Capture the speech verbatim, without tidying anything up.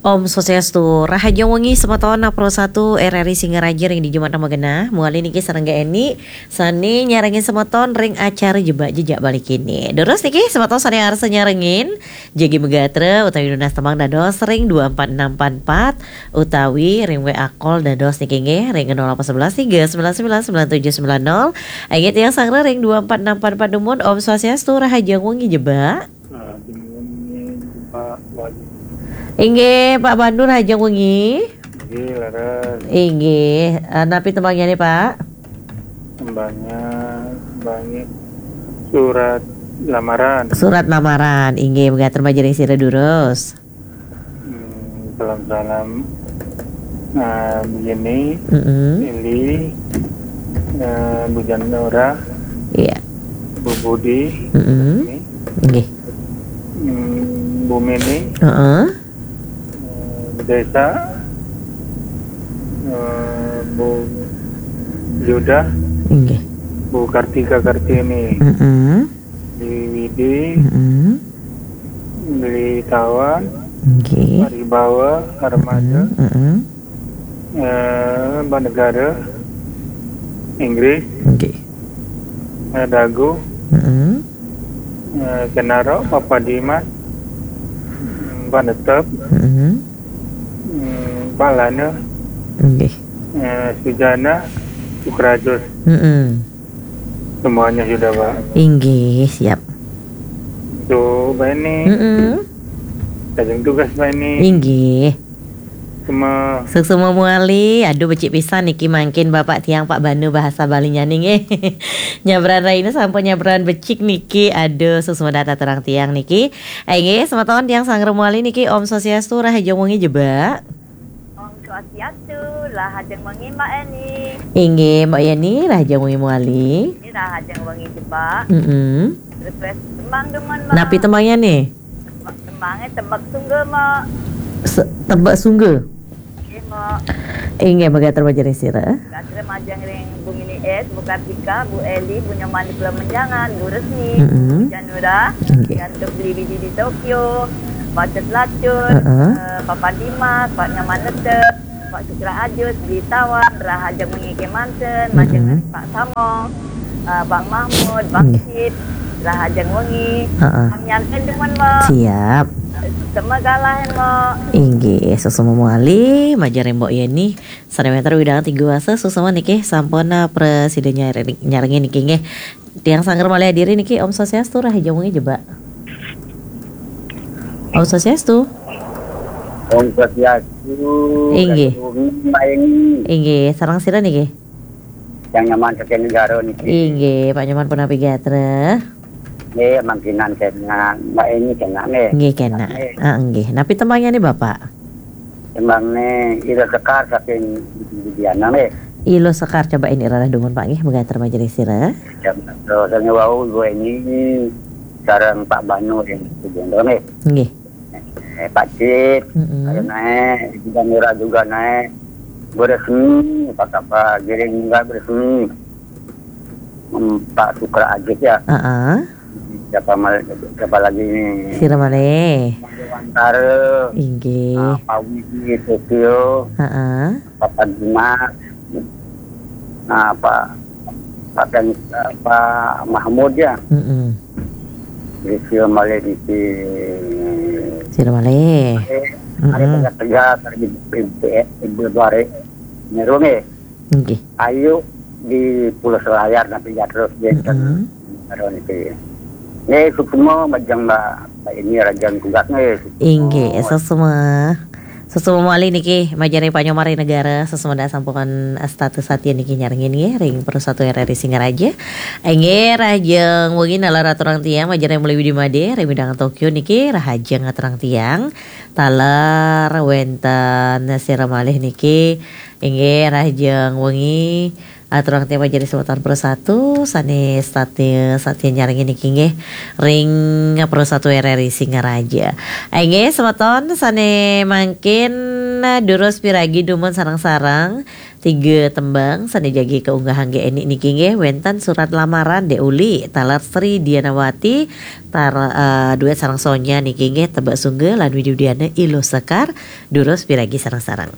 Om Swastiastu, rahajeng wengi semeton Pro satu R R I Singaraja ring dija magenah. Mawali niki sareng Eni, sane nyarengin semeton ring acara Jebak Jejak Bali Kini. Durus niki semeton sane arsa nyarengin, jagi magatra utawi nunas tembang dados ring dua empat enam empat empat, utawi ring W A call dados niki nggih ring nol delapan sebelas tiga sembilan sembilan sembilan tujuh sembilan nol. Inggih tiang sanggra ring dua empat enam empat empat dumun. Om Swastiastu, rahajeng wengi Jebak. Nah, jenengan ini Pak Wali. Inggih, Pak Bandu, rahajeng wengi. Inggih, leres. Inggih, eh, napi tembangnya nih, Pak? Tembangnya, tembangnya surat lamaran. Surat lamaran, inggih, magatra majeng ring sira durus. Hmm, salam-salam. Nah, begini, Mm-mm. Ili, eh, Bu Janura, Iya. Bu Budi, Mm-mm. ini, Nggih. Hmm, Bu Mini, Heeh. eh, Bu Desa, eh, Bu Yuda, Nggih. Bu Kartika Kartini, Mm-mm. Di Widi, Mm-mm. Beli Tawan, Nggih. Paribawa, Armada, Mm-mm. eh, Banegara, Inggris, Nggih. eh, Dago, Mm-mm. eh, Kenaro, Papa Dimas, mm, Banetep, Mm-mm. mm, Palana, Nggih. eh, Sujana, Sukrajus. Mm-mm. Semuanya sudah, Pak. Inggih, siap. Tuh, Pak ini. Mm-mm. Lajeng tugas, Pak ini. Inggih. Semua. Suksma mawali, aduh becik pisan niki mangkin Bapak tiang Pak Banu bahasa Balinya nih nggih. Nyabran raina sampun nyabran becik niki, aduh suksma dhateng tiang niki. Inggih, semeton tiang sanggra mawali niki Om Swastiastu, rahajeng wengi Jebak. Om Swastiastu, rahajeng wengi Mbak Eni. Inggih, Mbak Yeni, rahajeng wengi mawali. Ini rahajeng wengi Jebak. Mm-mm. Request tembang demen, Mbak. Napi tembangnya nih? Tembangnya Tebak Sungga, Mbak. Se-, Tebak Sungga? Nggih, Mbak. Inggih, magatra majeng ring sira. Magatra majeng ring Bu Mini S, Bu Kartika, Bu Eli, Bu Nyoman di Pulau Menjangan, Bu Resmi, Mm-mm. Bu Janura, Nggih. Yang Beli Widi di Tokyo, Bacet Lacur, Heeh. eh, Papa Dimas, Pak Nyoman Nete, Pak Sukra Ajus, Beli Tawan, rahajeng wengi kemanten, majeng Mm-mm. Pak Samong, eh, Bang Mahmud, Bang Nggih. Sip, rahajeng wengi. Heeh. Kami anten demen, Mbak. Siap. Sama galah, Mbak. Inggih, suksma mawali, majeng ring Mbok Yeni. Sane wenten widang tiga wasa, suksma niki sampun, eh, prasida nyare-, nyarengin niki nggih. Tiang sanggra malih adiri niki, Om Swastiastu, rahajeng wengi Jebak. Om Swastiastu. Om Swastiastu. Inggih. Rahajeng wengi, Mbak Eni. Inggih, sareng sira niki? Yang Nyoman saking Negara niki. Inggih, Pak Nyoman punapi gatra? Nggih, mangkinan kenak, Mbak Eni kenak nggih. Nggih, kenak. Nggih. Ah, nggih. Napi tembangnya nih, Bapak? Tembangnya Ila Sekar saking Widiana nggih. Ila Sekar, coba ini rarah dumun, Pak, nggih, magatra majeng ring sira. Ya, terus saya wau Ibu Eni sareng Pak Banu yang sebentar nggih. Nggih. Eh, Pak Cip, Mm-mm. Ada naik, juga murah juga naik. Bu Resmi, apa kabar? Giring juga Bu Resmi. Hmm, Pak Sukra Ajis ya. Heeh. Siapa mal-, siapa lagi ini? Sira malih. Wantara. Inggih. Ah, Pak Widi, Tokyo. Heeh. Papa Dimas. Nah, Pak, Pak Ken-, Pak Mahmud ya. Mm-mm. Di sira malih di si-, Sira malih. Eh, ada Mm-mm. Tegas-Tegas, ada di, di, di, di Bare. Nyeru nggih. Nggih. Ayu di Pulau Selayar nanti ya terus dia Mm-mm. Karo niki. Nggih, suksma majeng Mbak, Mbak Eni rahajeng tugas nggih. Inggih, suksma. Suksma malih niki majeng ring Pak Nyoman ring Negara, suksma sampun status ati niki nyarengin nggih ring Pro satu R R I Singaraja. Inggih, rahajeng wengi taler aturang tiang majeng ring Meli Widi Made, ring Widang Tokyo niki rahajeng aturang tiang. Taler wenten sira malih niki, inggih rahajeng wengi. Aturang tiang majeng ring semeton Pro satu, sane satia, satia nyarengin niki nggih, ring Pro satu R R I Singaraja. Inggih, semeton sane mangkin, durus piragi dumun sareng-sareng, Tiga tembang sané jagi kaunggahang Gék Eni niki nggih wénten Surat Lamaran Dék Uli, taler Sri Dianawati, tar, eh, duet sareng Sonya niki nggih Tebak Sungga lan Widi Widiana Iluh Sekar, durus piragi sareng-sareng.